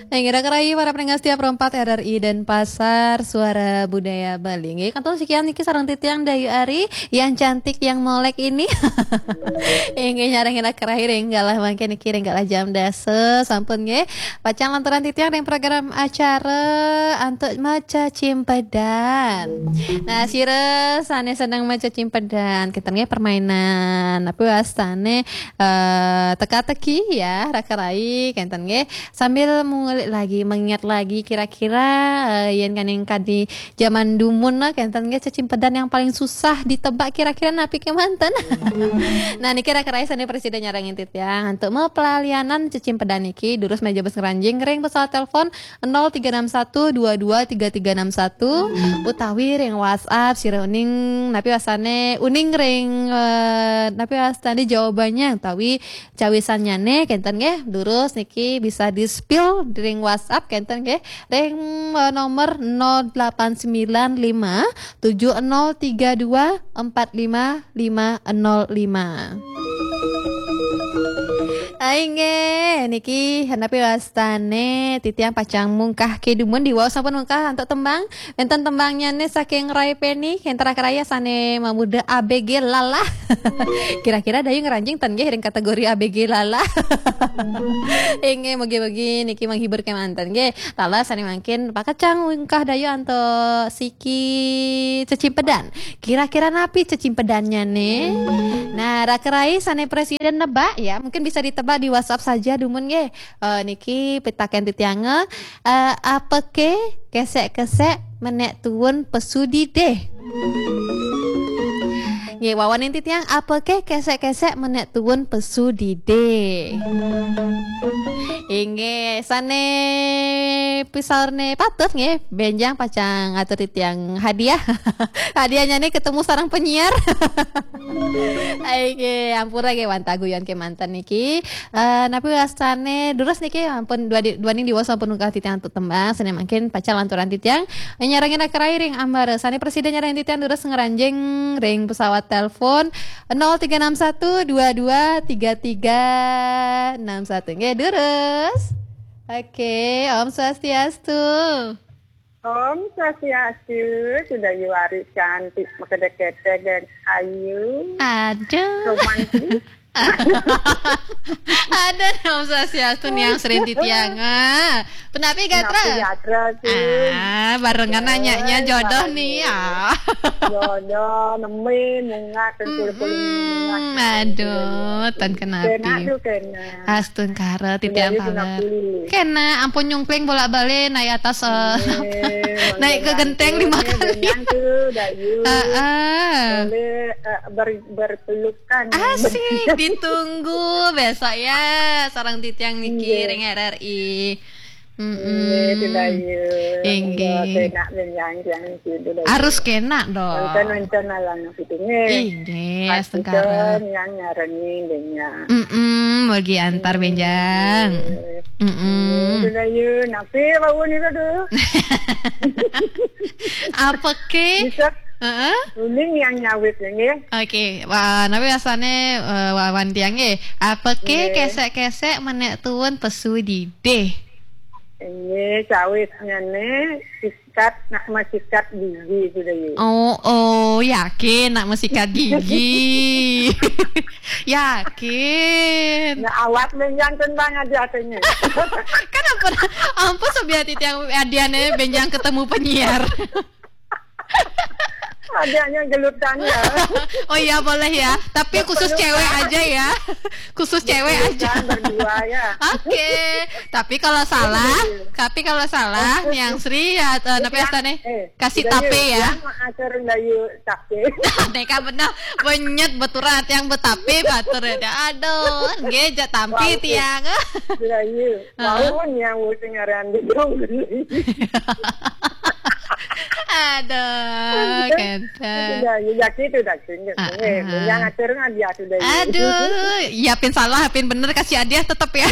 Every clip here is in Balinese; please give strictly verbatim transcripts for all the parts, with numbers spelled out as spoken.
Nah, ngira kerai para pendengar setia Pro empat R R I Denpasar, Suara Budaya Bali. Nggih, kantun sekian niki sareng titiang Dayu Ari, yang cantik, yang molek ini. Inggih, nyarengin kerai ring galah mangke niki ring galah jam dasa, sampun nggih. Pacang lanturang titiang ring program acara antuk maca cimpedan. Nah, sira sane seneng maca cimpedan, kenten nggih permainan. Tapi wastane eh, teka-teki ya, raka rai, kenten nggih. Sambil mengulik lagi, mengingat lagi kira-kira eh, yen kaning kadi zaman dumun lah, kenten nggih, cecimpedan yang paling susah ditebak kira-kira napi kemanten. Nah, niki raka rai sane presiden nyarengin titiang untuk mepelalianan cecimpedan niki, durus meja bes ngeranjing ring pesawat telepon nol tiga enam satu dua dua tiga tiga enam satu utawi ring WhatsApp sira uning napi wastane uning ring eh, napi wastane jawabannya utawi cawisannyane kenten nggih, durus niki bisa di-spill ring WhatsApp kenten nggih, ring eh, nomor nol delapan sembilan lima tujuh nol tiga dua empat lima lima nol lima. Ai nggih, niki napi wastane titiang pacang mungkah kedumun diwaos sampun mungkah antuk tembang. Wenten tembangnyane saking Rai Peni, kenten raka rai sane mamuda A B G Lala. Kira-kira Dayu ngeranjing ten nggih ring kategori A B G Lala. Inggih, mugi-mugi niki menghibur kemanten nggih. Lala sane mangkin pakecang mungkah Dayu antuk siki cecimpedan. Kira-kira napi cecimpedannyane? Nah, raka rai sane presiden nebak ya, mungkin bisa ditebak di WhatsApp saja dumun nggih. Eh, niki pitaken titiange, eh, apake kesek-kesek menek tuun pesu didih? Nggih, wawanin titiang, apake kesek-kesek menek tuun pesu didih? Inggih, sane pisaurne patut nggih, benjang pacang atur titiang hadiah. Hadiahnyane ketemu sareng penyiar. Ai nggih, ampura nggih wantah guyon kemanten niki. Eh, napi wastane durus niki ampun dua di, duaning diwaos ampun mungkah titiang antuk tembang, sane mangkin pacang lanturang titiang nyarengin raka rai ring ambara. Sane presiden nyarengin titiang durus ngeranjing ring pesawat telepon nol tiga enam satu dua dua tiga tiga enam satu. Nggih, durus. Oke, Om Swastiastu. Om Swastiastu, sudah yuari cantik, makedek-kedek dan ayu. Aduh. Romantis. Ada Om Swastiastu niang sering titiang. Ah. Penapi gatra? Penapi gatra sih? Ah, barengan nanyanya jodoh nih ya. Jodoh, nemen, mungak, tentu. Mm-mm. Aduh, ten kenapi. Kena tuh, kena. Astungkara titiang pala. Kena, ampun nyungkling bolak-balik naik atas eh, naik ke genteng lima kali. Heeh. Boleh eh, ber, berpelukan. Asik, ditunggu besok ya sareng titiang niki ring R R I. Mm-mm. Inggih, tidak ya. Inggih. Enggak enak menyanyi yang itu, tidak ya. Harus kena dong. Nonton-nonton alang itu nggih. Inggih, astungkara. Yang nyarengi denya. Mm-mm, mugi antar benjang. Mm-mm. Tidak ya. Napi bau ni tu? Apa ke? Bisa. Heeh. Uning yang nyawit nggih. Oke, wah, napi wastane eh, wawan tiang nggih. Apa ke kesek-kesek menek tuun pesu didih? Nggih, cawisnya ne sikat nak mesikat gigi sudah ya. Oh, oh, yakin nak mesikat gigi. Yakin. Nah, awak menjang tentang aja katanya. Kan ampun, ampun sebiar titiang adiane benjang ketemu penyiar. Adanya gelutannya. Oh iya, boleh ya. Tapi khusus cewek aja ya. Khusus cewek aja. Berdua ya. Oke. Tapi kalau salah, tapi kalau salah, Niang Sri ya, eh, napi wastane? Kasih tape ya. Atur layu tape. Neka bener, benyet beturan yang betape batur ya. Aduh, nggih jak tampi tiang. Layu. Lawan yang sing aran di dong. Aduh, kenten. Ya, ya, ya gitu dah, gitu. Ah, eh, ah. Yang atur kan dia sudah. Aduh, ya pin salah, pin bener kasih hadiah tetep ya.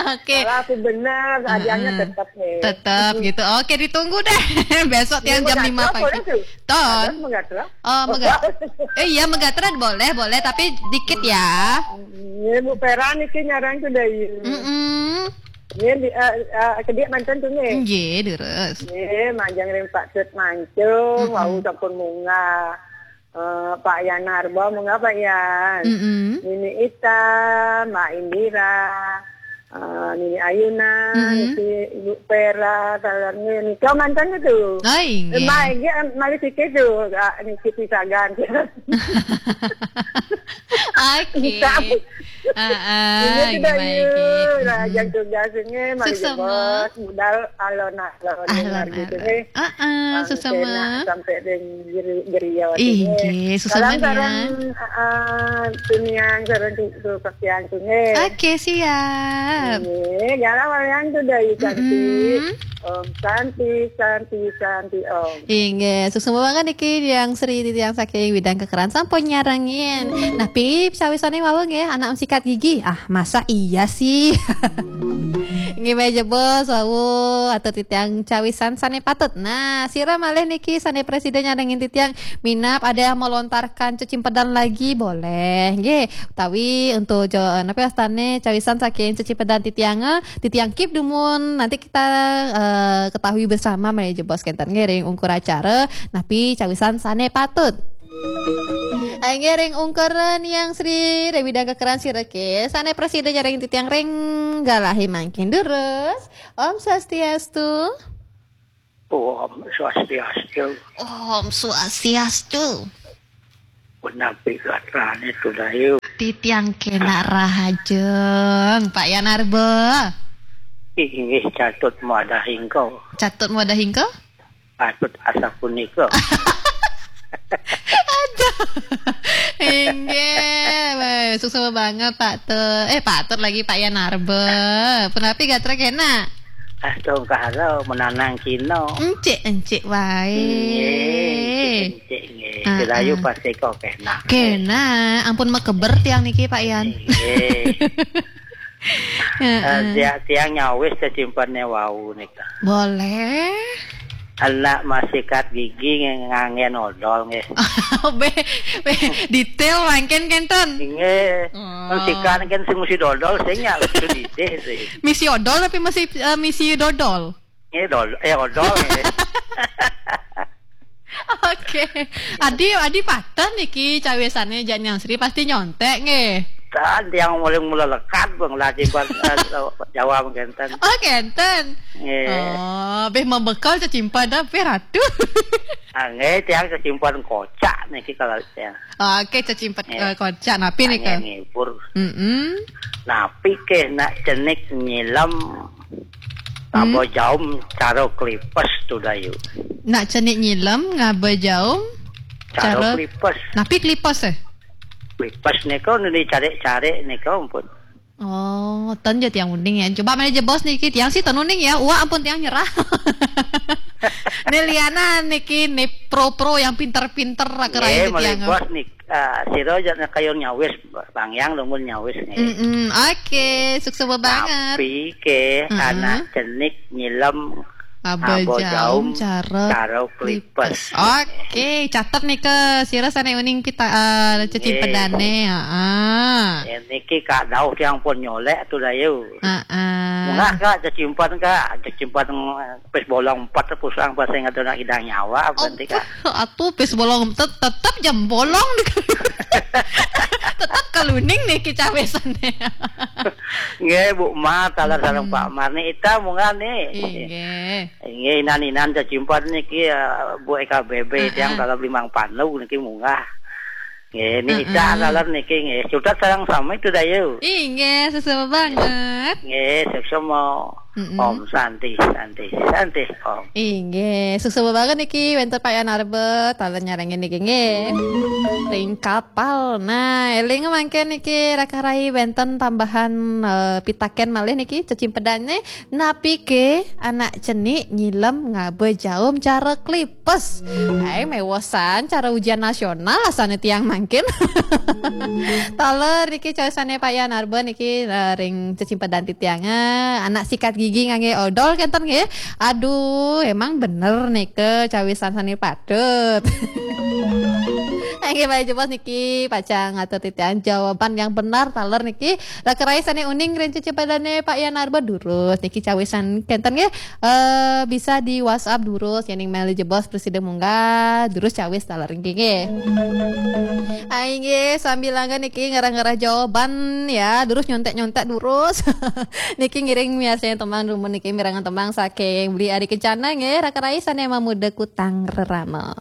Oke. Kalau aku benar, hadiahnya tetap nih. Tetap gitu. Oke, ditunggu deh. Besok tiang jam lima pagi. Ton. Megatron? Oh, mega-, eh, iya, megatron boleh, boleh, tapi dikit ya. Iya, Bu Pera niki nyarang tuh dari. Mm-mm. Iya, di, eh, eh, ke dia mantan tuh nih. Nggih, terus. Iya, manjang ring Pak Tut Mancung, wau sampun munggah. Eh, Pak Yan Narba, munggah Pak Yan. Mm-mm. Nini Ita, Mbak Indira, eh, Nini Ayuna, niki Ibu Pera, talernya nika mantan itu. Oh, inggih. Eh, Mbak, malih sikit tuh, ah, niki pisagan. Oke. Heeh, ini sudah yuk, raja tugas ini, mari jebos, budal alon-alon, alon-alon gitu nih. Heeh, sampai dengan gerio. Inggih, salam sareng, heeh, tunian sareng tu, tu, kesian tu, nggih. Oke, siap. Nggih, galau yang tu dari cantik. Om Santi, Santi, Santi, Om. Inggih, suksma banget niki yang Sri titiang saking Widang Kekeran sampun nyarengin. Nah, Pip, cawisane wau nggih, anak sikat gigi. Ah, masa iya sih? Nggih, meja bos, wau, atau titiang cawisan sane patut. Nah, sira malih niki sane presiden nyarengin titiang minab ada yang melontarkan cecimpedan lagi, boleh. Nggih, utawi untuk jo-, napa astane cawisan saking cecimpedan titiang, eh, titiang keep dumun. Nanti kita, eh, ketahui bersama malih jebos kenten nggih ring ungkur acara napi cawisan sane patut. Eh, nggih ring ungkur niang Sri Dewi dan kekeran sireke sane presida jaring titiang ring galahi mangkin durus. Om Swastiastu. Om Swastiastu. Om Swastiastu. Punapi gatrane tu dayu. Titiang kena rahajeng, Pak Yanarba. Inggih, catut muadah hingko. Catut muadah hingko? Patut asa punika. Aduh. Inggih, weh, suksma banget Pak Tut. Eh, Pak Tut lagi, Pak Yanarba. Punapi gatra kena? Astungkara menanang Cina. Encik, encik wae. Inggih, encik, encik, nggih. Heeh. Sirayu pasti kok kena. Kena, ampun mekeber tiang niki, Pak Yan. Inggih. Heeh. Eh, dia, tiang nyawis cecimpene wau nika. Boleh. Anak masikat gigi nge-, nganggen odol nggih. Be, be, detail mangkin kenten. Nggih. Oh. Masikat kan sing mesti dodol sing ya itu detail sih. Misi odol tapi masih, eh, misi dodol. Nggih, dol-, eh, odol nggih. Oke. Adi, adi patah niki cawisane jak Nyang Sri pasti nyontek nggih. Kan tiang mulai mula lekat bang lah simpan, eh, Jawa mengkenten. Oh, kenten. Nggih. Oh, beh membekal cecimpan dah beh ratu. Ah, nggih, tiang cecimpan kocak niki kalau tiang. Oke, cecimpan, eh, kocak napi nika? Angin ngibur. Mm-mm. Napi ke nak cenik nyilem tabo jaum caro klipes tu dayu. Nak cenik nyilem ngaba jaum caro klipes. Napi klipes eh? Klipes nika nu dicarik-carik nika ampun. Oh, ten je tiang uning ya. Coba mana je bos niki, tiang sih ten uning ya. Wah, ampun tiang nyerah. Ni liana niki ni pro-pro yang pinter-pinter raka rain tiang. Bos nik, ah, sira aja nak kayun nyawis, bang yang lumun nyawis nih. Mm-mm, oke, suksma banget. Tapi ke anak cenik nyilem aba jaum caro klipes. Oke, catet nih ke sira sane uning kita, eh, cecipedane, heeh. Ya, niki kak dauh tiang pun nyolek tu dayu. Heeh. Munggah kak cecimpan kak, cecimpan pes bolong empat pusang pas ingat nak idang nyawa berarti kak. Atuh pes bolong tet-, tetep jam bolong. Tetep keluning nih kicawesane. Nggih, Bu Mar, taler sareng Pak Mar nih, ita munggah nih. Inggih. Inggih, inan-inan cecimpan niki, eh, Bu E K B B, tiang taler limang panu niki munggah. Nggih, ini ita taler niki nggih. Sudah sareng sami tu dayu. Inggih, suksma banget. Nggih, suksma. Om Santi, Santi, Santi, Om. Inggih, suksma banget niki wénten Pak Yan Arbe, taler nyarengin niki nggih. Ring kapal. Nah, éling mangkin niki raka rai wénten tambahan eh, pitakén malih niki cecimpedané, napiké anak cenik nyilem ngaba jaum cara klipes. Hai, méwosan cara ujian nasional asané tiang mangkin. Taler niki cawisané Pak Yan Arbe niki eh, ring cecimpedan titiang. Eh, anak sikat gigi nganggé odol kénten nggih. Aduh, emang bener nika cawisan sané patut. Nggih, malih jebos niki pacang ngatur titiang jawaban yang benar taler niki. Raka rai sané uning ring cecimpedané Pak Yan Arbe durus niki cawisan kénten nggih. Eh, bisa di WhatsApp durus, yéning malih jebos prasida munggah durus cawis taler niki nggih. Ai nggih, sambilanga niki ngarah-ngarah jawaban ya, durus nyonték-nyonték durus. Niki ngiring miarsayang tembang dumun niki mirengang tembang saking Beli Ari Kencana nggih, raka rai sané mamuda kutang rerama.